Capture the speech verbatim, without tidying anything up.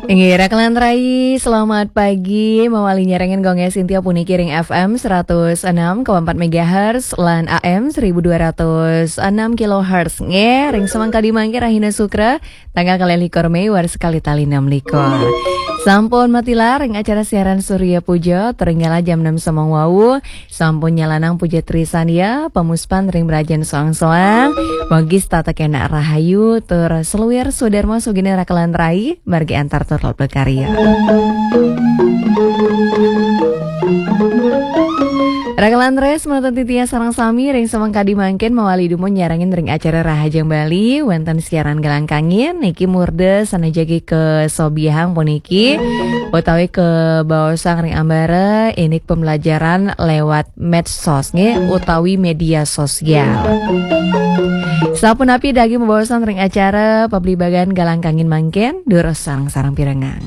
Inggih, Raka lan Rai, selamat pagi. Mawali nyarengin Gong Sintia puniki ring F M seratus enam koma empat megahertz lan A M seribu dua ratus enam kilohertz. Nggih, ring samangkadi mangke rahina Sukra, tanggal kalih likur Mei, warsa kalih tali enam likur. Sampun matilar ring acara siaran Surya Puja, tur nyala jam enam semeng wau. Sampun nyalanang puja Trisandya, pamuspan ring brajan soang-soang. Mugi setata kenak rahayu, tur saluir swadarma sugina Raka lan Rai, margi antar tur lebet karya. Raka lan Rai, semanten titiang sareng sami ring samangkadi mangkin mawali dumun nyarengin ring acara Rahajeng Bali, wenten siaran Galang Kangin, niki murda sane jagi kasobiahang puniki, utawi kabaosang ring ambara indik pembelajaran lewat medsos, nggih, utawi media sosial. Sapunapi daging mabaosan ring acara pablibagan Galang Kangin mangkin, durus sareng-sareng pirengang.